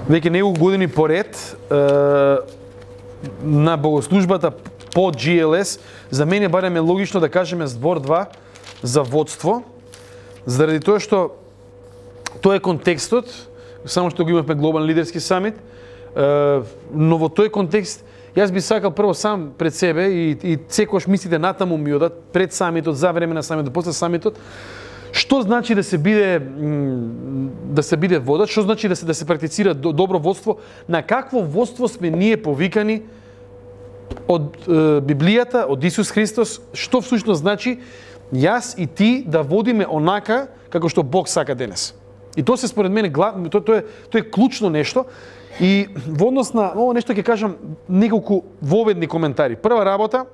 веќе неколку години поред на богослужбата по GLS, за мене барем е логично да кажеме збор 2 за водство, заради тоа што тоа е контекстот, само што го имавме глобален лидерски самит, но во тој контекст јас би сакал прво сам пред себе и секогаш мислите натаму ми одат пред самитот, за време на самитот, после самитот, што значи да се биде водач, што значи да се практицира добро водство, на какво водство сме ние повикани од Библијата, од Исус Христос, што всушност значи јас и ти да водиме онака како што Бог сака денес. И тоа се според мене тоа е клучно нешто. И во однос на ово нешто ќе кажам неколку воведни коментари. Прва работа,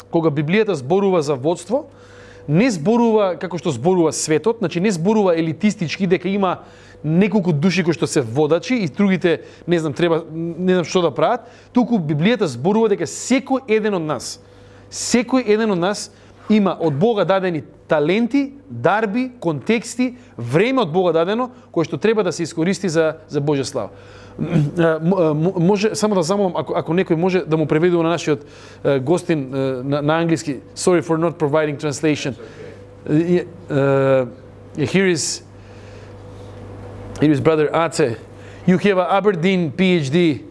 кога Библијата зборува за водство, не зборува како што зборува светот, значи не зборува елитистички дека има неколку души кои што се водачи и другите не знам што да прават, туку Библијата зборува дека секој еден од нас има од Бога дадени таленти, дарби, контексти, време од Бога дадено кое што треба да се искористи за Божја слава. Може само да замолам ако некој може да му преведе на нашиот гостин на англиски. Sorry for not providing translation. Here is brother Ace. You have an Aberdeen PhD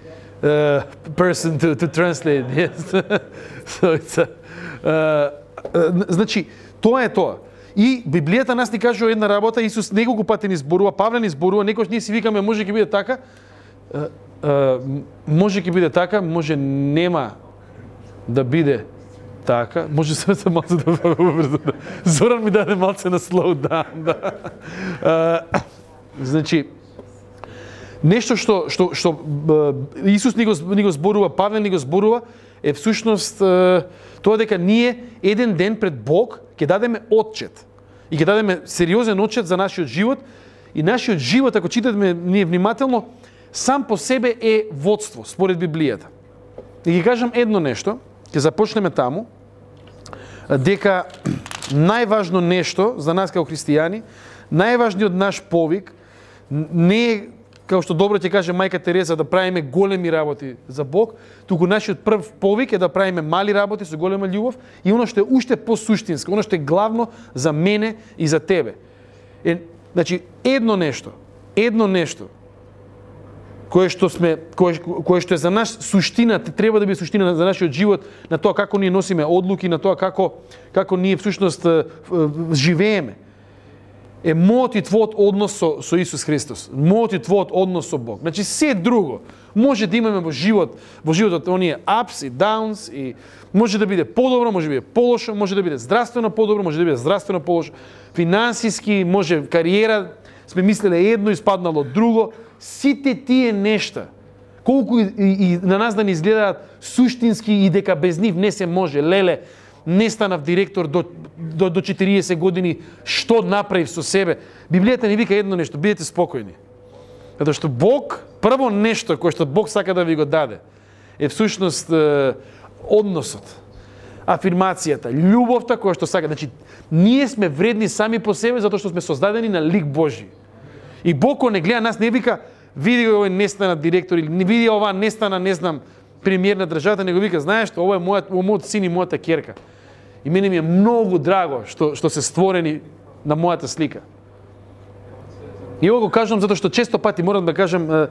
person to translate. Yes. So it's значи тоа е тоа. И Библијата нас ни кажува една работа, Исус неколку пати ни зборува, Павле ни зборува, некојаш ние си викаме може ќе биде така, може ќе биде така, може нема да биде така, може се малце да убрзам. Зоран ми даде малце на slow down. Значи, нешто што Исус ни го зборува, Павле ни го зборува, е всушност тоа дека ние еден ден пред Бог ќе дадеме отчет. И ќе дадеме сериозен отчет за нашиот живот. И нашиот живот, ако читаме ние внимателно, сам по себе е водство, според Библијата. И ќе кажам едно нешто, ќе започнеме таму, дека најважно нешто за нас како христијани, најважниот наш повик, не е, како што добро ќе каже мајка Тереза, да правиме големи работи за Бог, туку нашиот прв повик е да правиме мали работи со голема љубов и оно што е уште посуштинско, оно што е главно за мене и за тебе. Значи, едно нешто кое што е за нас суштина, треба да биде суштина за нашиот живот, на тоа како ние носиме одлуки, на тоа како ние всушност живееме. Е мојот и твојот однос со Исус Христос, мојот и твојот однос со Бог. Значи се друго може да имаме во животот оние ups и downs, и може да биде подобро, може да биде полошо, може да биде здравствено подобро, може да биде здравствено полошо, финансиски, може кариера, сме мислеле едно и спаднало друго. Сите тие нешта, колку и на нас да ни изгледаат суштински и дека без нив не се може, леле, не станав директор до 40 години, што направив со себе. Библијата ни вика едно нешто, бидете спокојни. Затоа што Бог, прво нешто кое што Бог сака да ви го даде, е всушност односот, афирмацијата, љубовта која што сака. Значи, ние сме вредни сами по себе затоа што сме создадени на лик Божи. И Бог кога не гледа нас не вика види овој не стана директор или не види ова не стана, не знам, премиер на државата, него вика знаеш што ова е мојот син и мојата ќерка. И мене ми е многу драго што се створени на мојата слика. И ово го кажам затоа што често пати морам да кажам,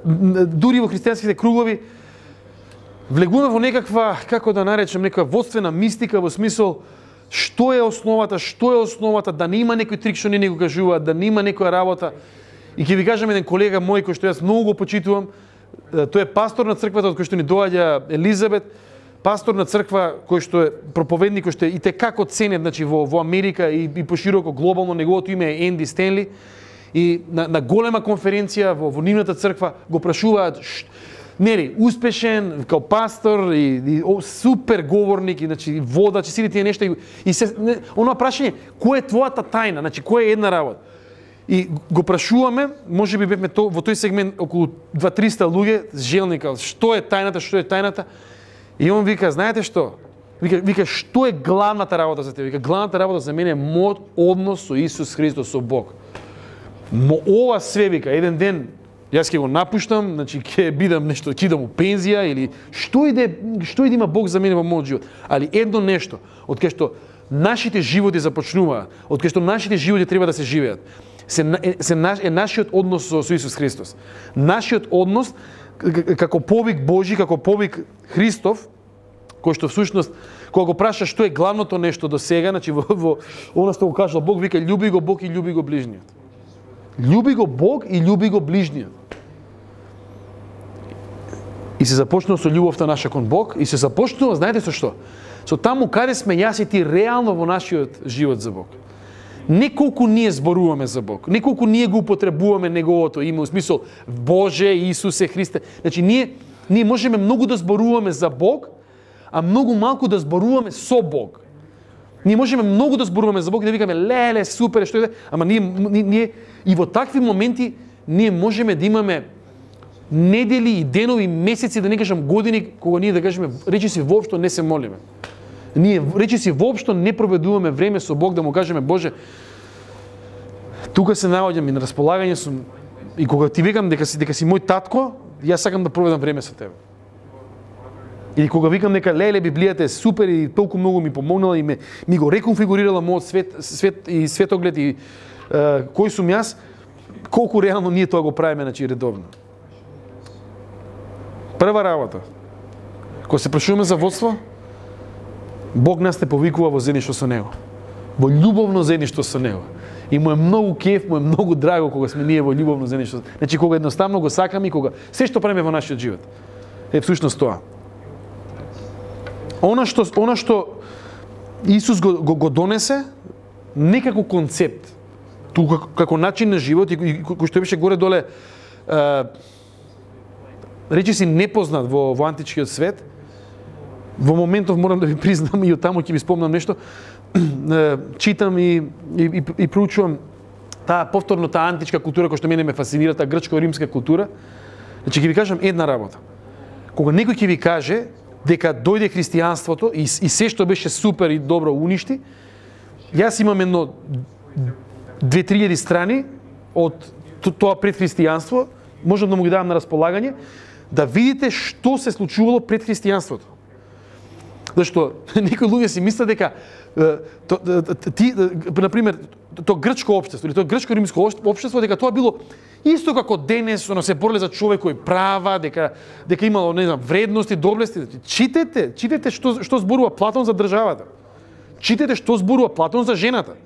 дури во христијанските кругови влегуваме во некаква, како да наречем, некаква водствена мистика во смисол што е основата, да не има некој трик што не го кажуваат, да не има некоја работа. И ќе ви кажам еден колега мој кој што јас многу го почитувам, тој е пастор на црквата од кој што ни доаѓа Елизабет, пастор на црква кој што е проповедник, кој што е и текако ценет, значи во Америка и пошироко глобално, неговото име е Енди Стенли. И на голема конференција во нивната црква го прашуваат нели успешен као пастор и супер говорник, и значи водач и сите тие нешта и се оно прашање кој е твојата тајна, значи кој е една работа. И го прашуваме, можеби бевме во тој сегмент околу 200-300 луѓе, желника, што е тајната? И он вика, знаете што? Вика, што е главната работа за тебе? Вика, главната работа за мене е мојот однос со Исус Христос, со Бог. Ова све, вика, еден ден Јас ќе го напуштам, значи ќе бидам нешто, ќе идам у пензија или што и да има Бог за мене во мојот живот. Али едно нешто, од кај што нашите животи започнуваат, од кај што нашите животи треба да се живеат, е нашиот однос со Исус Христос. Нашиот однос како повик Божи, како повик Христов, кој што всушност кога го праша што е главното нешто до сега, значи во она што го кажал Бог, вика љуби го Бог и љуби го ближниот. Љуби го Бог и љуби го ближниот. И се започнува со љубовта наша кон Бог и се започнува, знаете со што? Со таму каде сме јас и ти реално во нашиот живот за Бог. Не колку ние зборуваме за Бог, не колку ние го употребуваме неговото име, во смисол Боже, Исусе, Христе. Значи ние можеме многу да зборуваме за Бог, а многу малку да зборуваме со Бог. Ние можеме многу да зборуваме за Бог и да викаме леле, супер, што е, ама ние и во такви моменти ние можеме да имаме недели и денови, месеци, да не кажам години, кога ние да кажеме речиси воопшто не се молиме. Ние речиси воопшто не проведуваме време со Бог да му кажеме Боже, тука се наоѓам и на располагање сум и кога ти викам дека си мој татко, јас сакам да проведам време со тебе. Или кога викам дека леле Библијата е супер и толку многу ми помогнала и ми го реконфигурирала мојот свет и светоглед и кој сум јас, колку реално ние тоа го правиме, значи редовно. Прва работа, кога се прашуваме за водство, Бог нас те повикува во заедништво со Него. Во љубовно заедништво со Него. И му е многу кеф, му е многу драго кога сме ние во љубовно заедништво. Значи кога едноставно го сакаме и кога се што правиме во нашиот живот. Е всушност тоа. Она што Исус го донесе не како концепт, тука како начин на живот и кој што беше горе доле речиси непознат во античкиот свет. Во моментов морам да ви признам и од таму ќе ви спомнам нешто. Читам и проучувам таа повторно античка култура која што мене ме фасцинира, таа грчко-римска култура. Значи ќе ви кажам една работа. Кога некој ќе ви каже дека дојде христијанството и се што беше супер и добро уништи, јас имам едно 2-3 страни од тоа пред христијанство, можам да му ги давам на располагање, да видите што се случувало пред христијанството. Зашто некои луѓе си мислат дека например, тоа грчко општество или тоа грчко-римско општество, дека тоа било исто како денес, се бореле за човекови права, дека имало, не знам, вредности, доблести. Читете што зборува Платон за државата. Читете што зборува Платон за жената.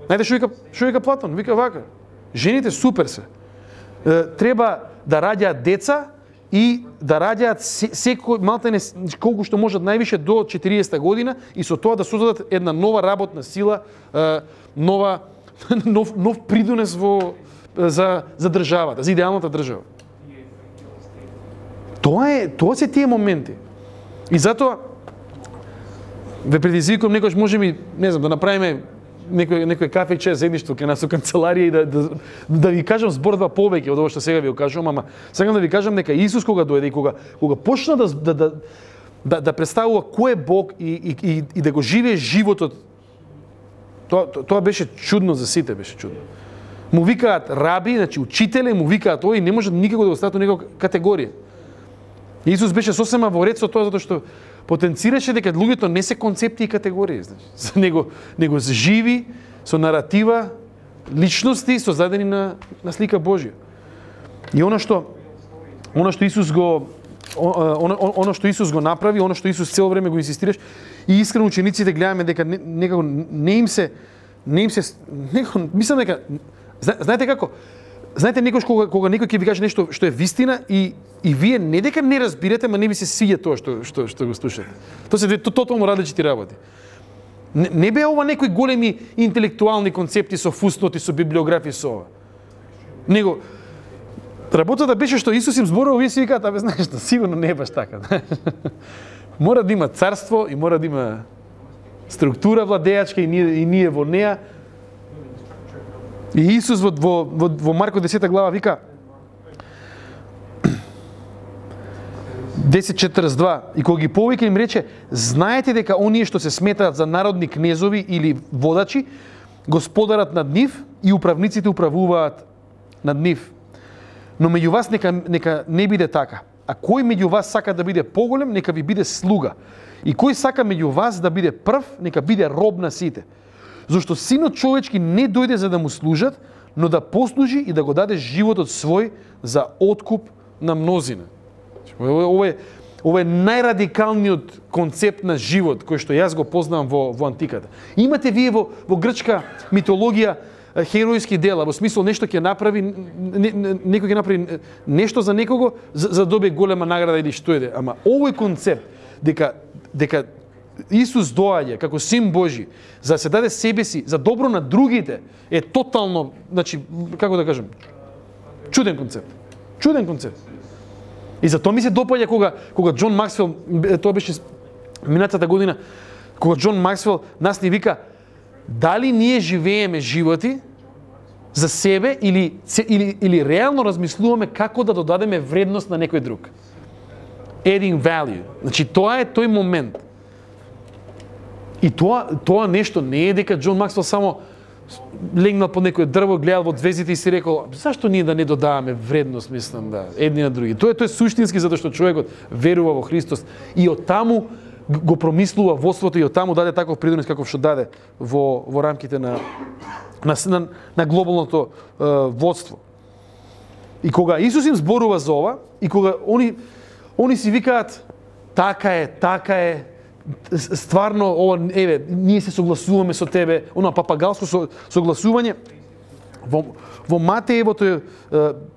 Знаете што вика Платон? Вика вака: жените супер се. Треба да раѓаат деца и да раѓаат секој малтене колку што можат највише до 40 година и со тоа да создадат една нова работна сила, нов придонес за државата, за идеалната држава. Тоа се тие моменти. И затоа ве предизвикувам некојаш можеме, не знам, да направиме некој кафе и чај заедништво кај нас во канцеларија и да ви кажам збор-два повеќе од ова што сега ви го кажувам, ама сакам да ви кажам дека Исус кога дојде и кога почна да представува кој е Бог и да го живее животот, тоа беше чудно за сите, беше чудно. Му викаат раби, значи учителе, му викаат тој и не можат никако да го стават во некоја категорија. Исус беше сосема во ред со тоа затоа што потенцираше дека луѓето не се концепти и категории, значи, него живи со наратива, личности создадени на слика Божја. И она што Исус го направи, она што Исус цело време го инсистираш, и искрено учениците гледаме дека некако не им се мислам дека знаете како? Знаете некош кога некој ќе ви каже нешто што е вистина и вие не дека не разбирате, ма не ви се свиѓа тоа што го слушате. Тоа се тотално различити работи. Не беа ова некои големи интелектуални концепти со фусноти, со библиографија, со ова. Него работата беше што Исус им зборува, вие си викаат, абе знаеш што, сигурно не е баш така. Мора да има царство и мора да има структура владеачка и ние во неа. И Исус во Марко 10 глава вика 10:42, и кога ги повика им рече: знаете дека оние што се сметаат за народни кнезови или водачи, господарат над нив и управниците управуваат над нив. Но меѓу вас нека не биде така. А кој меѓу вас сака да биде поголем, нека ви биде слуга. И кој сака меѓу вас да биде прв, нека биде роб на сите. Зашто Синот човечки не дојде за да му служат, но да послужи и да го даде животот свој за откуп на мнозина. Ова е најрадикалниот концепт на живот кој што јас го познавам во антиката. Имате вие во грчка митологија херојски дела, во смисол нешто ќе направи, некој ќе направи нешто за некого за добие голема награда или што еде. Ама овој концепт дека Исус доаѓа како Син Божи за да се даде себе си за добро на другите е тотално, значи, како да кажем, чуден концепт. Чуден концепт. И затоа ми се допаѓа кога Џон Максвел, тоа беше минатата година, кога Џон Максвел нас ни вика дали ние живееме животи за себе или реално размислуваме како да додадеме вредност на некој друг. Adding value. Значи тоа е тој момент. И тоа нешто не е дека Џон Максвел само легнал под некој дрво, гледал во звездите и си рекол, зашто ние да не додаваме вредност, мислам, да, едни на други. Тоа е суштински затоа што човекот верува во Христос и од таму го промислува водството и од таму даде таков придонес каков што даде во рамките на глобалното водство. И кога Исус им зборува за ова и кога они си викаат така е, стварно ова еве ние се согласуваме со тебе, она папагалско согласување во Матеевото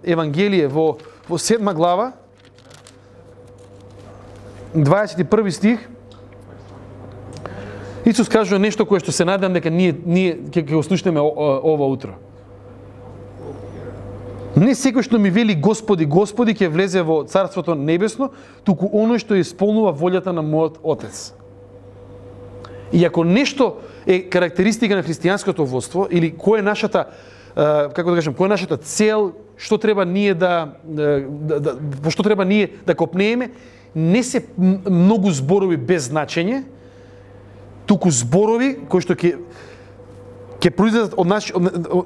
евангелие во 7 глава 21 стих Исус кажува нешто кое што се надевам дека ние ќе го слушнеме ова утро. Не секој што ми вели Господи, Господи ќе влезе во Царството небесно, туку оној што исполнува волјата на мојот Отец. И ако нешто е карактеристика на христијанското водство или кој е нашата како да кажем, која е нашата цел, што треба ние по што треба ние да копнееме, не се многу зборови без значење, туку зборови кои што ќе произлезат од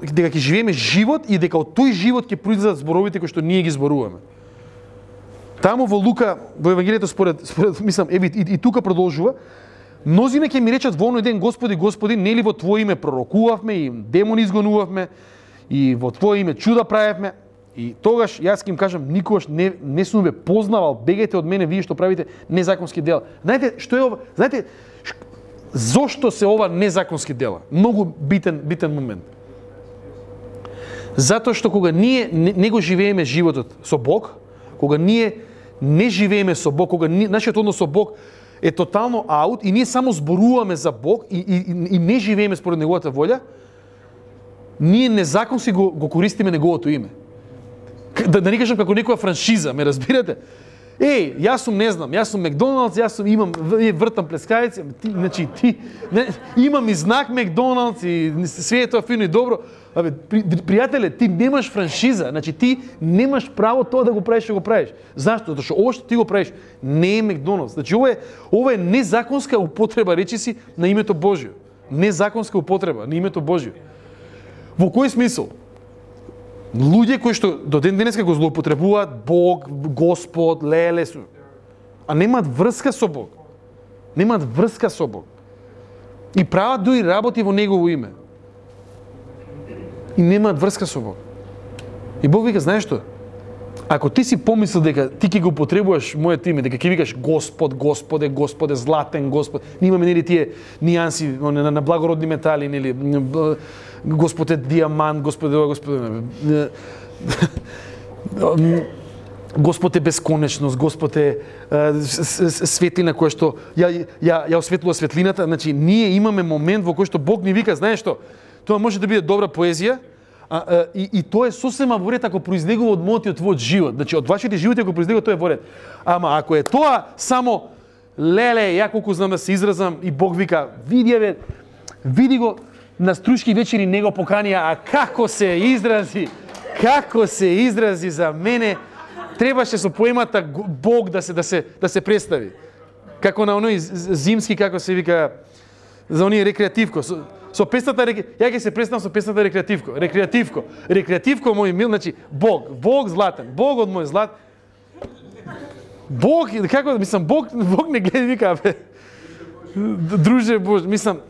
дека ќе живееме живот и дека од тој живот ќе произлезат зборовите кои што ние ги зборуваме. Таму во Лука, во Евангелието според мислам, и тука продолжува, мнозина ќе ми речат во оној ден, Господи, Господи, нели во Твое име пророкувавме и демони изгонувавме и во Твое име чуда правевме? И тогаш јас ќе им кажам, никогаш не сум ве познавал, бегајте од мене, вие што правите незаконски дела. Знаете што е ова? Знаете зошто се ова незаконски дела? Многу битен момент. Затоа што кога ние не го живееме животот со Бог, кога ние не живееме со Бог, кога нашиот однос со Бог е тотално аут и ние само зборуваме за Бог и не живееме според неговата волја, ние незаконски го користиме неговото име. Да не кажам како некоја франшиза, ме разбирате? Јас сум Макдоналдс, имам вртам плескавици, значи имам и знак Макдоналдс и све е тоа фино и добро. Пријателе, ти немаш франшиза, значи ти немаш право тоа да го правиш што го правиш. Зашто? Затоа што ова што ти го правиш не е Макдоналдс. Значи ова е незаконска употреба, речи си, на името Божјо. Незаконска употреба на името Божјо. Во кој смисол? Луѓе кои што до ден денеска го злоупотребуваат Бог, Господ, леле, а немаат врска со Бог. Немаат врска со Бог. И прават дури работи во Негово име. И немаат врска со Бог. И Бог вика, знаеш што? Ако ти си помислил дека ти ќе го употребуваш моето име, дека ќе викаш Господ, Господе, Господе, златен Господ, имаме нели тие нијанси на благородни метали, нели Господе диамант, Господе, Господ е бесконечност, Господ е светлина која што ја осветлува светлината. Значи, ние имаме момент во кој што Бог ни вика, знаеш што, тоа може да биде добра поезија, и тоа е сосема во ред ако произлегува од мојот и од твојот живот. Значи, од вашите животи ако произлегува, тоа е во ред. Ама ако е тоа само, леле, ја колку знам да се изразам, и Бог вика, види го, на струшки вечери не го поканија, а како се изрази за мене, требаше со поемата Бог да се представи. Како на оној зимски, како се вика, за оние рекреативко, со песната, ја ќе се представам со песната рекреативко. Рекреативко мој мил, значи Бог златен, Бог од мој злат. Бог, како мислам, Бог не гледа вика, бе. Друже Боже, мислам,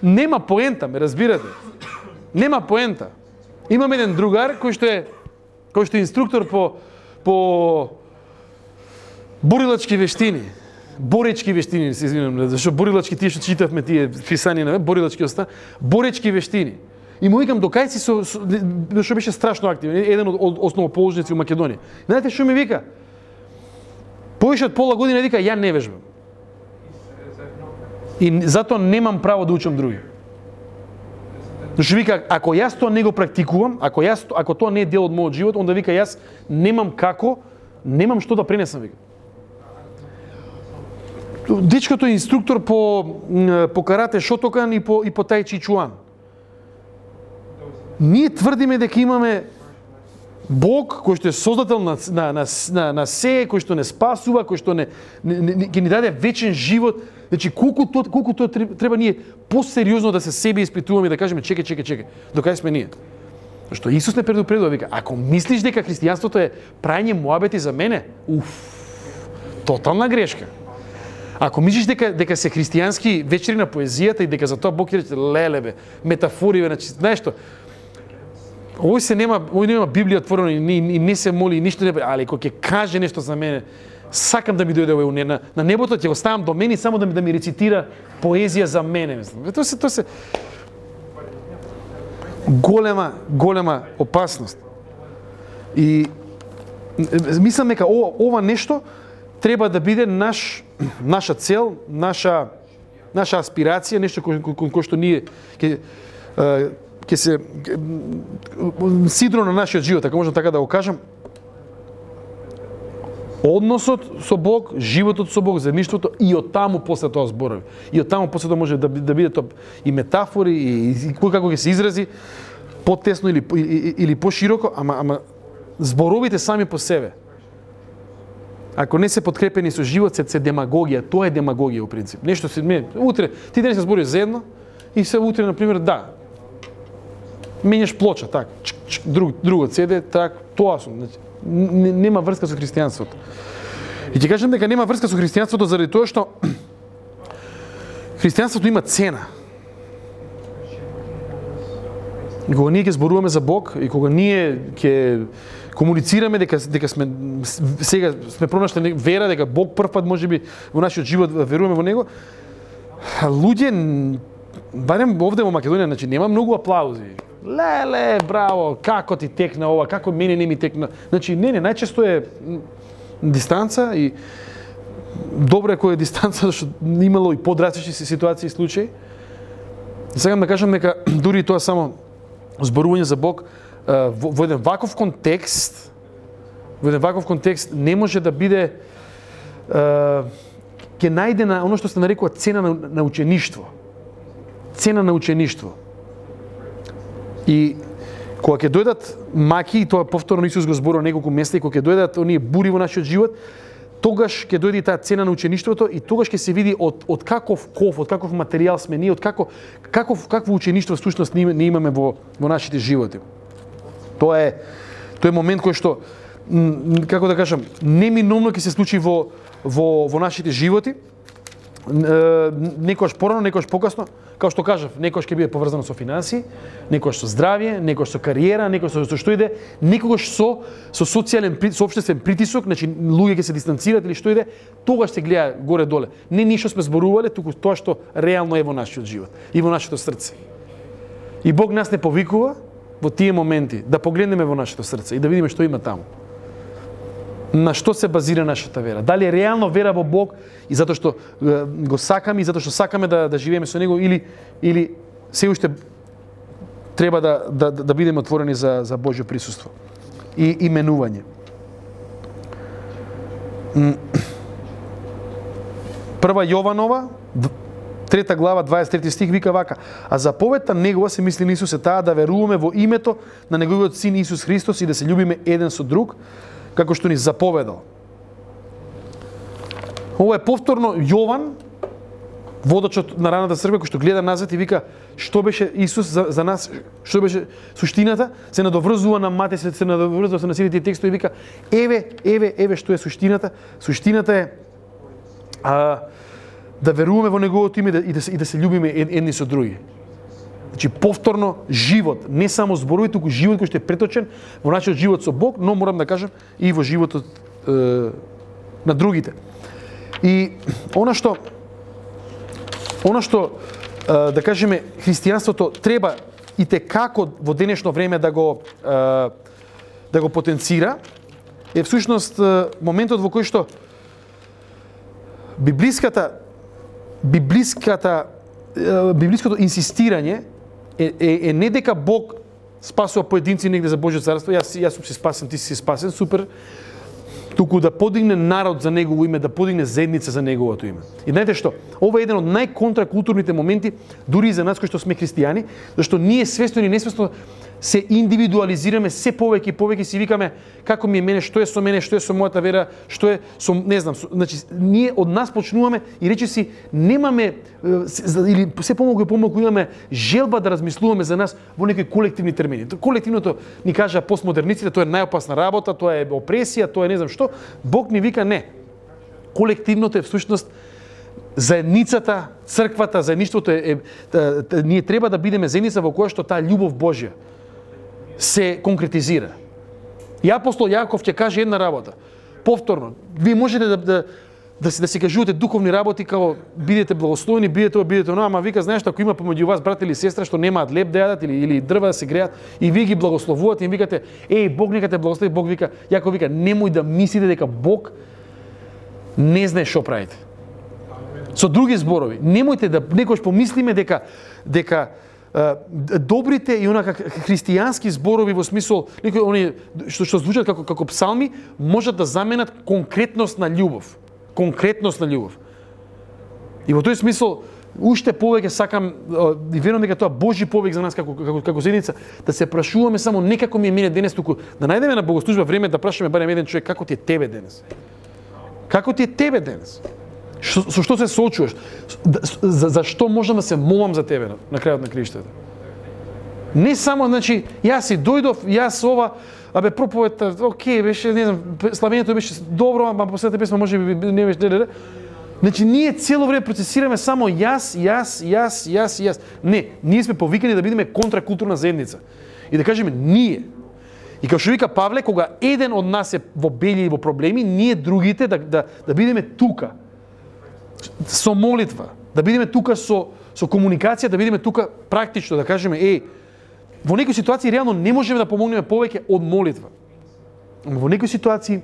нема поента, ме разбирате. Нема поента. Имам еден другар кој што е инструктор по борилачки вештини. Боречки вештини, се извинувам, зашто борилачки тие што читавме тие писанија на борилачки оста, боречки вештини. И му викам докај си што беше страшно активен, еден од основоположници у Македонија. Знаете што ми вика? Повеќе од пола година вика ја не вежбам. И затоа немам право да учам други. Зашто вика ако јас тоа не го практикувам, ако тоа не е дел од мојот живот, онда вика јас немам што да пренесам, вика. Дечкото е инструктор по карате Шотокан и по тај чи чуан. Ние тврдиме дека имаме Бог кој што е создател на се, кој што не спасува, кој што ќе ни даде вечен живот. Значи колку тоа треба ние посериозно да се себе испитуваме и да кажеме чекај, докај сме ние? Зашто Исус не предупредува, вика, ако мислиш дека христијанството е прајање муабети за мене, тотална грешка. Ако мислиш дека се христијански вечери на поезијата и дека за тоа Бог ќе рече лелебе, метафори, значи знаеш што? Овој нема Библија отворена и не се моли и ништо не, али кога ќе каже нешто за мене, сакам да ми дојде овој на небото, ќе го ставам до мене само да ми рецитира поезија за мене, мислам. Тоа се голема опасност. И мислам дека ова нешто треба да биде наша цел, наша аспирација, нешто кој што ние ќе се сидро на нашиот живот, ако можам така да го кажам. Односот со Бог, животот со Бог, заедништвото и од таму после тоа зборови. И од таму после тоа може да биде тоа и метафори и како ќе се изрази потесно или пошироко, ама зборовите сами по себе. Ако не се подкрепени со живот, се демагогија, тоа е демагогија во принцип. Нешто утре ти денес се збориш заедно и се утре на пример менјаш плоча, так, другот седе, так, тоа сум. Значи, нема врска со христијанството. И ќе кажам дека нема врска со христијанството заради тоа што христијанството има цена. И кога ние ќе зборуваме за Бог и кога ние ќе комуницираме дека сега сме пронашли вера, дека Бог првпат можеби во нашиот живот веруваме во него, луѓе барем овде во Македонија, значи нема многу аплаузи. Леле, браво, како ти текна ова, како мене не ми текна. Значи, не, најчесто е дистанца и добро е кој е дистанца, зашто имало и подрастични ситуации и случаи. Сакам да кажам дека дури тоа само зборување за Бог во еден ваков контекст не може да биде ќе најде на оно што се нарекува цена на учеништво. Цена на учеништво. И кога ќе дојдат маки, и тоа повторно Исус го зборува неколку места, и кога ќе дојдат оние бури во нашиот живот, тогаш ќе дојде и таа цена на учеништвото и тогаш ќе се види од каков материјал сме ние, од какво учеништво всушност ние имаме во нашите животи. Тоа е момент кој што, како да кажам, неминовно ќе се случи во нашите животи. Некојаш порано, некојаш покасно, како што кажав, некојаш ќе биде поврзано со финансии, некојаш со здравје, некојаш со кариера, некојаш со што иде, некогаш со социјален, со општествен притисок, значи луѓе ќе се дистанцираат или што иде, тогаш се гледа горе-доле. Не ништо сме зборувале, туку тоа што реално е во нашиот живот и во нашето срце. И Бог нас не повикува во тие моменти да погледнеме во нашето срце и да видиме што има таму. На што се базира нашата вера? Дали е реално вера во Бог и затоа што го сакаме и затоа што сакаме да живееме со него или се уште треба да бидеме отворени за Божјо присуство и именување. Прва Јованова, 3 глава, 23 стих вика вака: а заповедта негова, се мисли на Исус, е таа да веруваме во името на неговиот син Исус Христос и да се љубиме еден со друг, како што ни заповедал. Ова е повторно Јован, водачот на раната црква кој што гледа назад и вика што беше Исус за нас, што беше суштината, се надоврзува на Матеј, се надоврзува на сите текстови и вика еве што е суштината. Суштината е да веруваме во неговото име и да се љубиме едни со други. Значи повторно живот, не само зборови, туку живот кој што е преточен во нашиот живот со Бог, но морам да кажам и во животот на другите. И она што да кажеме христијанството треба и како во денешно време да го потенцира е всушност моментот во кој што библиското инсистирање е не дека Бог спасува поединци негде за Божјо царство, јас сум си спасен, ти си спасен, супер, туку да подигне народ за негово име, да подигне заедница за неговото име. И знаете што? Ова е еден од најконтракултурните моменти, дури и за нас кои што сме христијани, зашто ние свесно или несвесно се индивидуализираме се повеќе и повеќе, си викаме како ми е мене, што е со мене, што е со мојата вера, што е со, не знам, значи ние од нас почнуваме и речиси немаме или се помалку и помалку имаме желба да размислуваме за нас во некои колективни термини. Колективното ни кажа постмодерниците, тоа е најопасна работа, тоа е опресија, тоа е не знам што. Бог ни вика не. Колективното е всушност заедницата, црквата, заедништвото ние треба да бидеме заедница во која што таа љубов Божја се конкретизира. И апостол Јаков ќе каже една работа. Повторно, вие можете да си кажувате духовни работи како бидете благословени, бидете оно, ама вика знаеш ако има помеѓу вас брат или сестра што немаат леп да јадат или дрва да се греат и вие ги благословувате и викате Бог нека те благослови, Бог вика, Јаков вика немој да мислите дека Бог не знае што правите. Со други зборови, немојте да некош помислиме дека добрите и онака христијански зборови во смисол некои они што звучат како псалми можат да заменат конкретност на љубов. Конкретност на љубов. И во тој смисол уште повеќе сакам и верувам дека тоа Божји повик за нас како заедница да се прашуваме само не како ми е мене денес, туку да најдеме на богослужба време да прашаме барем еден човек како ти е тебе денес. Како ти е тебе денес? Со што се соочуваш? Зашто можам да се молам за тебе на крајот на криштата? Не само, значи, јас си дојдов, јас ова, проповедта, окей, беше, не знам, славењето беше добро, ама последната песма може би не беше. Значи, ние цело време процесираме само јас. Не, ние сме повикани да бидеме контракултурна заедница. И да кажеме ние. И како што вика Павле, кога еден од нас е во бели и во проблеми, ние другите да бидеме тука. Со молитва, да бидеме тука со комуникација, да бидеме тука практично, да кажеме, во некои ситуации реално не можеме да помогнеме повеќе од молитва. Во некои ситуации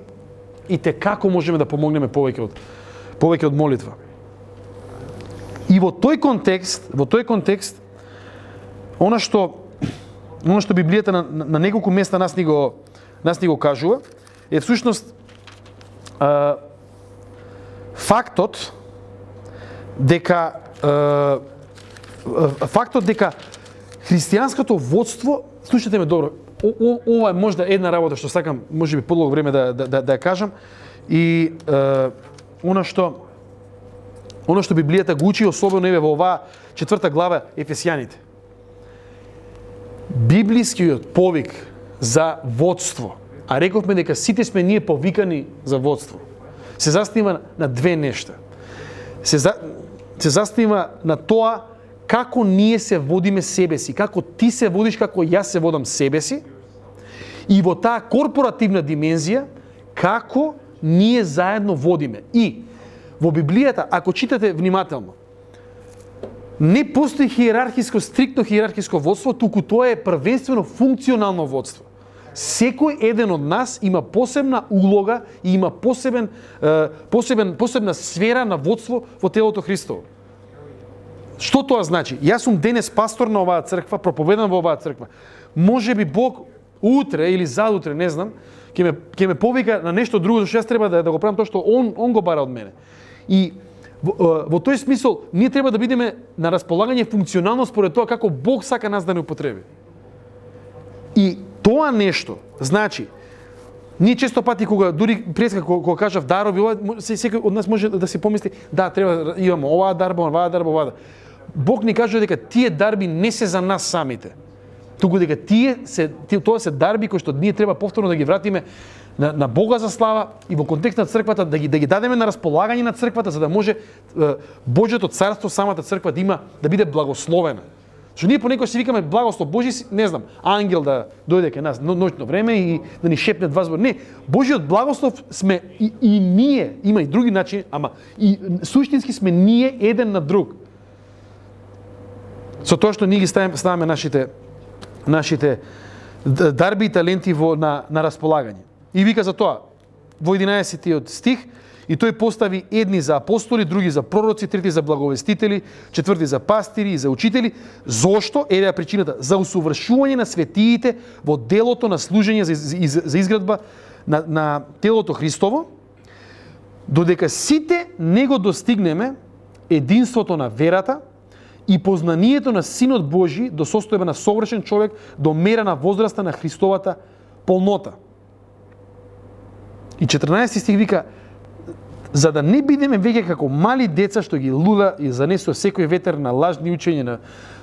и како можеме да помогнеме повеќе од молитва. И во тој контекст, она што Библијата на неколку места нас ни го кажува, е всушност фактот дека христијанското водство, слушате ме добро, ова е можда една работа што сакам, можеби подолго време да ја кажам, и она што Библијата го учи, особено во оваа 4 глава Ефесјаните. Библискиот повик за водство, а рековме дека сите сме ние повикани за водство, се заснива на две нешта. Се заснива на тоа како ние се водиме себе си, како ти се водиш, како јас се водам себе си, и во таа корпоративна димензија, како ние заедно водиме. И во Библијата, ако читате внимателно, не постои стриктно хиерархиско водство, туку тоа е првенствено функционално водство. Секој еден од нас има посебна улога и има посебна сфера на водство во телото Христово. Што тоа значи? Јас сум денес пастор на оваа црква, проповедам во оваа црква. Може би Бог утре или задутре, не знам, ќе ме повика на нешто друго, зашто јас треба да го правам тоа што он го бара од мене. И во тој смисол ние треба да бидеме на располагање функционално според тоа како Бог сака нас да не употреби. И тоа нешто, значи, Ние често пати кога дури преска кога кажав дарови, ова секој од нас може да си помисли, да, треба имаме оваа дарба, оваа дарба, оваа. Бог ни кажува дека тие дарби не се за нас самите. Туку дека тоа се дарби кои што ние треба повторно да ги вратиме на Бога за слава и во контекст на црквата да ги дадеме на располагање на црквата за да може Божјото царство, самата црква да биде благословена. Што ние понекогаш си викаме благослов Божи, не знам, ангел да дојде кај нас ноќно време и да ни шепне два збори. Не, Божиот благослов сме и ние, има и други начини, ама и суштински сме ние еден на друг. Со тоа што ние ги ставаме нашите дарби и таленти на располагање. И вика за тоа во 11 стих, и тој постави едни за апостоли, други за пророци, трети за благовестители, четврти за пастири и за учители. Зошто? Еве причината. За усовршување на светиите во делото на служење за изградба на телото Христово, додека сите не го достигнеме единството на верата и познанието на Синот Божи до состојба на совршен човек, до мера на возраста на Христовата полнота. И 14 стих вика, за да не бидеме веќе како мали деца што ги луда и занесува секој ветер на лажни учења, на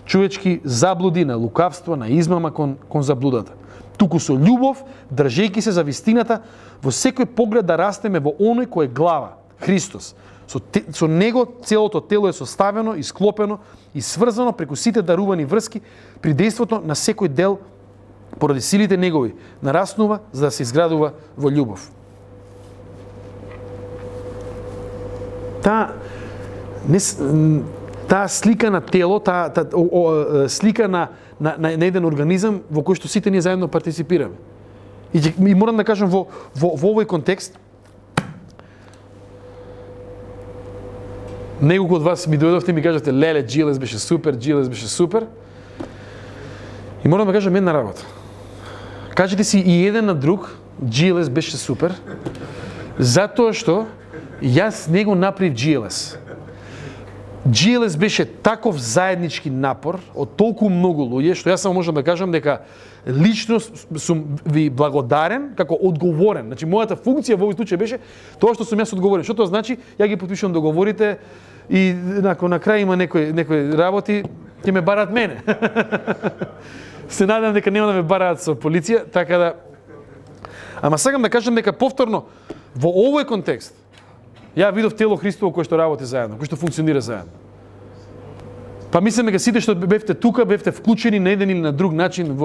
човечки заблуди, на лукавство, на измама кон заблудата. Туку со љубов, држејќи се за вистината, во секој поглед да растеме во оној кој е глава, Христос. Со него целото тело е составено, исклопено и сврзано преку сите дарувани врски при дејството на секој дел поради силите негови, нараснува за да се изградува во љубов. Таа слика на тело, слика на еден организам во кој што сите ние заедно партиципираме. И морам да кажам во овој контекст, неколку од вас ми дојдовте и ми кажавте, леле, GLS беше супер, GLS беше супер. И морам да кажам една работа. Кажете си и еден на друг, GLS беше супер, затоа што јас не го направив GLS. GLS беше таков заеднички напор од толку многу луѓе, што јас само можам да кажам дека лично сум ви благодарен како одговорен. Значи, мојата функција во овој случај беше тоа што сум јас одговорен. Што тоа значи? Ја ги потпишувам договорите и на крај има некои работи, ќе ме бараат мене. Се надам дека нема да ме бараат со полиција, така да... Ама сакам да кажам дека повторно, во овој контекст, ја видов тело Христово кој што работи заедно, кој што функционира заедно. Па мислам дека сите што бевте тука, бевте вклучени на еден или на друг начин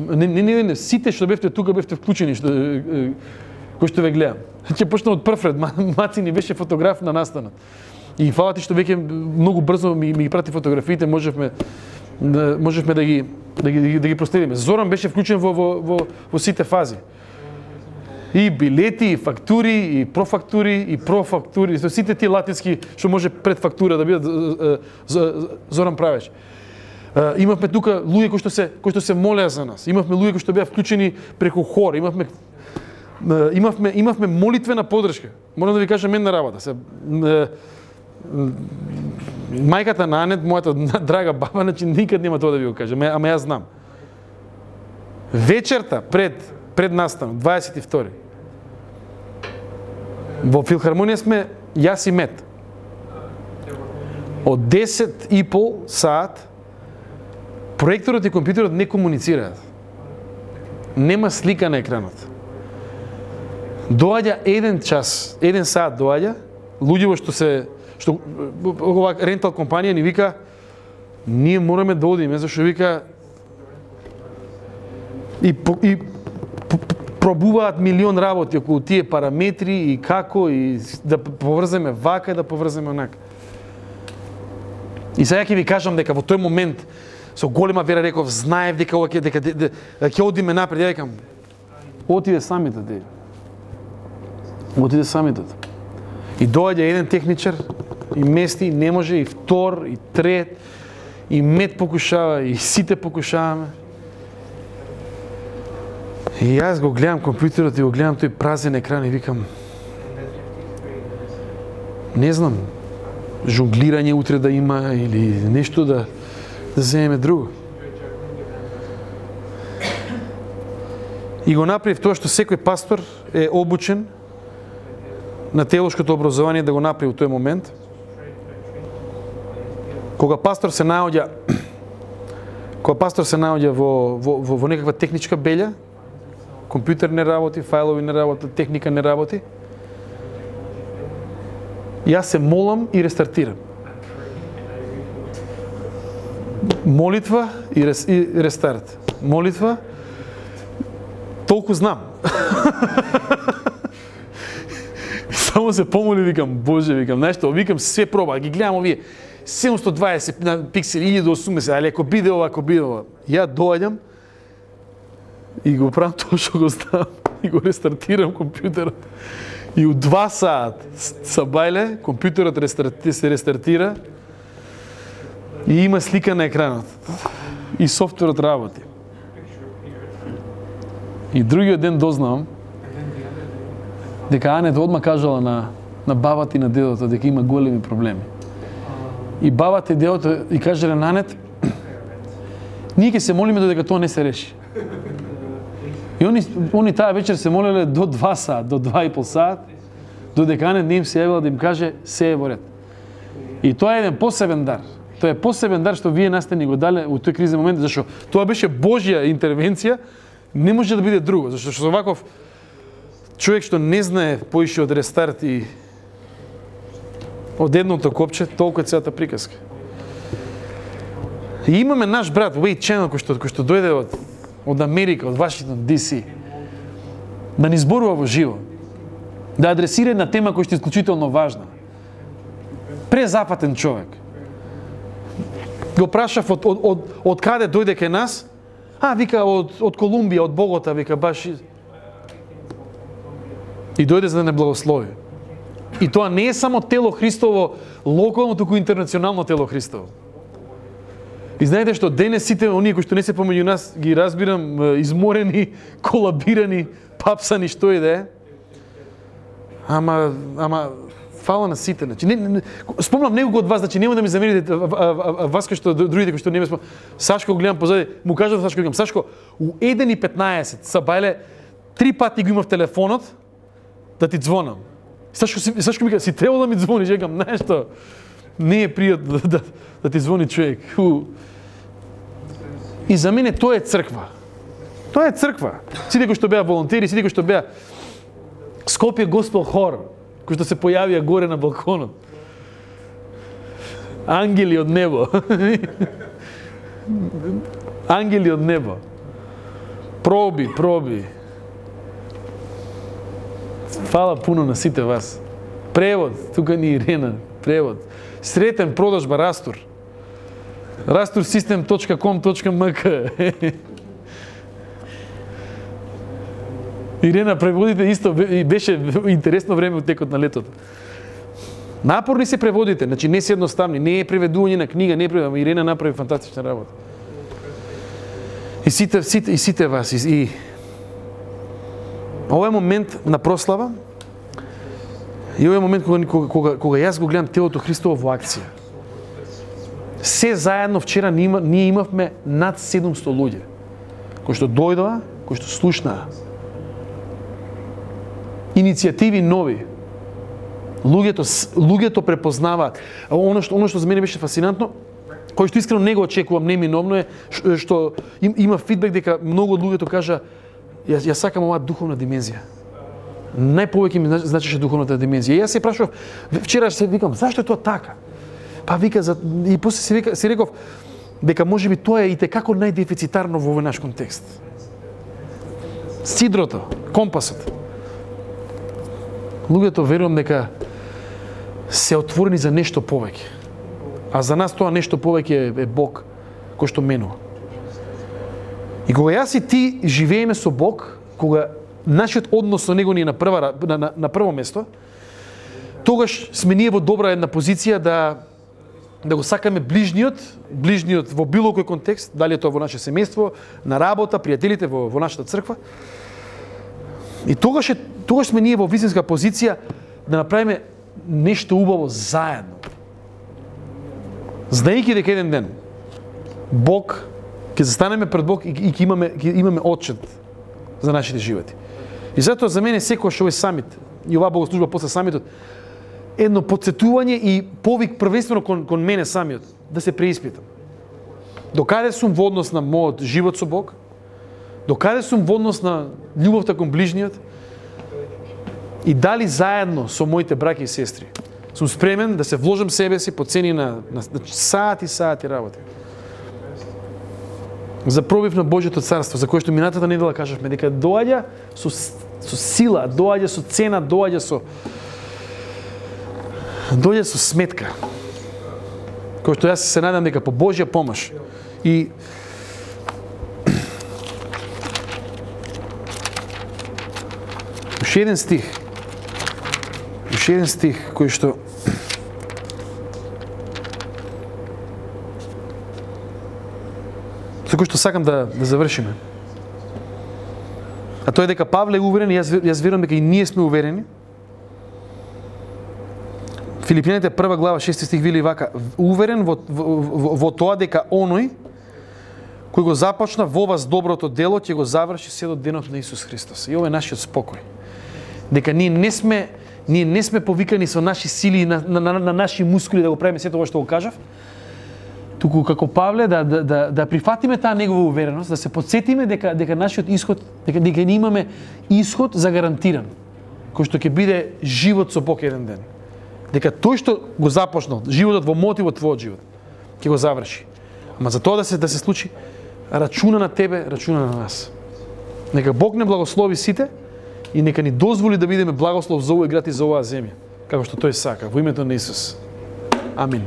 не, сите што бевте тука бевте вклучени кој што ве гледам. Ќе почнам од прв ред, Маци ни беше фотограф на настанот. И фала ти што веќе многу брзо ми ги прати фотографиите, можевме да ги проследиме. Зоран беше вклучен во сите фази. И билети, и фактури, и профактури, сите тие латински што може пред фактура да бидат Зоран правеше. Имавме тука луѓе кои што се молеа за нас. Имавме луѓе кои што беа вклучени преку хор. Имавме молитвена поддршка. Морам да ви кажам една работа. Мајката на Анет, мојата драга баба, значи никад нема тоа да ви го кажам, ама јас знам. Вечерта пред настанот, 22. Во филхармонија сме јас и Мет. Од 10,5 саат проекторот и компјутерот не комуницираат. Нема слика на екранот. Доаѓа 1 саат доаѓа, луѓе што ова рентал компанија ни вика, ние мораме да одиме, зашто вика и пробуваат милион работи околу тие параметри и како и да поврземе вака и да поврземе онака. И сега ќе ви кажам дека во тој момент со голема вера реков, знаев дека ова ќе одиме напред, ја викам, отиде самитот. Отиде самитот. И доаѓа еден техничар и мести, не може, и втор, и трет, и Мет покушава, и сите покушаваме. И јас го гледам компјутерот и го гледам тој празен екран и викам, не знам, жонглирање утре да има или нешто да земеме друго. И го направив тоа што секој пастор е обучен на теолошкото образование да го направи во тој момент. Кога пастор се наоѓа во некаква техничка белја, компјутер не работи, фајлови не работи, техника не работи, јас се молам и рестартирам. Молитва и рестарт. Молитва, толку знам. Само се помоли, викам, Боже, викам, нешто, викам, све проба, ги гледам овие 720 на пиксели, 1080, али ако биде ова, ја доаѓам и го правам тоа што го знам и го рестартирам компјутерот. И у 2 саат са бајле, компјутерот се рестартира и има слика на екранот. И софтверот работи. И другиот ден дознавам дека Анет одма кажала на бабата и на дедото дека има големи проблеми. И бабата и дедото и кажале на Анет, ние ќе се молиме додека тоа не се реши. И они таа вечер се молеле до 2 саат, до 2,5 саат, додека Анет не им се јавила да им каже се е во ред. И тоа е еден посебен дар. Тоа е посебен дар што вие нас сте ни го дале у тој кризен момент, зашто тоа беше Божја интервенција, не може да биде друго, зашто со ваков човек што не знае поише од рестарт и од едното копче, толку е целата приказка. И имаме наш брат Wade Channel кој што дојде од Америка, од Вашингтон, DC, да ни зборува во живо, да адресира една тема која што е исклучително важна. Презапатен човек. Го прашав од каде дојде кај нас? Вика од Колумбија, од Богота, вика баш. И дојде за да не благослови. И тоа не е само тело Христово локално, туку интернационално тело Христово. И знаете што денес сите оние кои што не се помеѓу нас ги разбирам изморени, колабирани, папсани, што и да е. Ама фала на сите, значи спомнам некој од вас, значи нема да ми замерите вас кои што другите кои што не ме спомнам. Сашко го гледам позади, му кажав Сашко, викам Сашко, у 1:15 са бајле 3 пати го имав телефонот да ти звонам. Сашко ми кажа, си требало да ми звониш, викам, нешто не е пријатно да ти звони човек. И за мене тоа е црква. Тоа е црква. Сите кои што беа волонтери, сите кои што беа Скопје Госпел хор, кои што се појавија горе на балконот. Ангели од небо. Ангели од небо. Проби. Фала пуно на сите вас. Превод, тука ни Ирена, превод. Сретен продажба Растур. rastursystem.com.mk. Ирена преводите исто беше интересно време од текот на летото. Напорни се преводите, значи не се едноставни, не е преведување на книга, не е преведување, Ирена направи фантастична работа. И сите вас и ова е момент на прослава. И ова е момент кога јас го гледам телото Христово во акција. Се заедно вчера ние имавме над 700 луѓе кои што дојдоа, кои што слушнаа. Иницијативи нови. Луѓето препознаваат. Оно што за мене беше фасцинантно, кој што искрено не го очекувам, неминовно е што има фидбек дека многу од луѓето кажа ја сакам оваа духовна димензија. Најповеќе ми значеше духовната димензија. И јас се прашував, вчера се викам, зашто е тоа така? Па вика, и после си реков дека можеби тоа е и текако најдефицитарно во овој наш контекст. Сидрото, компасот. Луѓето верувам дека се отворени за нешто повеќе. А за нас тоа нешто повеќе е Бог кој што менува. И кога јас и ти живееме со Бог, кога нашиот однос со Него ни е на прво место, тогаш сме ние во добра една позиција да го сакаме ближниот во било кој контекст, дали е тоа во наше семејство, на работа, пријателите во нашата црква. И тогаш сме ние во вистинска позиција да направиме нешто убаво заедно. Знаејќи дека еден ден Бог ќе застанеме пред Бог и ќе имаме отчет за нашите животи. И затоа за мене секогаш овој самит и оваа богослужба после самитот едно потсетување и повик првенствено кон мене самиот да се преиспитам. Докаде сум во однос на мојот живот со Бог? Докаде сум во однос на љубовта кон ближниот? И дали заедно со моите браќа и сестри сум спремен да се вложам себе си по цени на сати работи. За пробив на Божјото царство, за кое што минатата недела кажавме дека доаѓа со сила, доаѓа со цена, доаѓа со сметка. Кој што јас се надам дека по Божја помош и уште еден стих кој што со кој што сакам да завршиме. А тоа е дека Павле е уверен и јас верувам дека и ние сме уверени. Филипијаните 1 глава 6 стих вели вака: уверен во тоа дека оној кој го започна во вас доброто дело ќе го заврши се до денот на Исус Христос. И ова е нашиот спокој. Дека ние не сме повикани со наши сили на наши мускули да го правиме сето ова што го кажав, туку како Павле да прифатиме таа негова увереност, да се потсетиме дека нашиот исход, дека ние имаме исход загарантиран, кој што ќе биде живот со Бог еден ден. Дека тој што го започнал, животот во мојот и во твојот живот, ќе го заврши. Ама за тоа да се случи, рачуна на тебе, рачуна на нас. Нека Бог не благослови сите и нека ни дозволи да бидеме благослов за овој град и за оваа земја, како што тој сака, во името на Исус. Амин.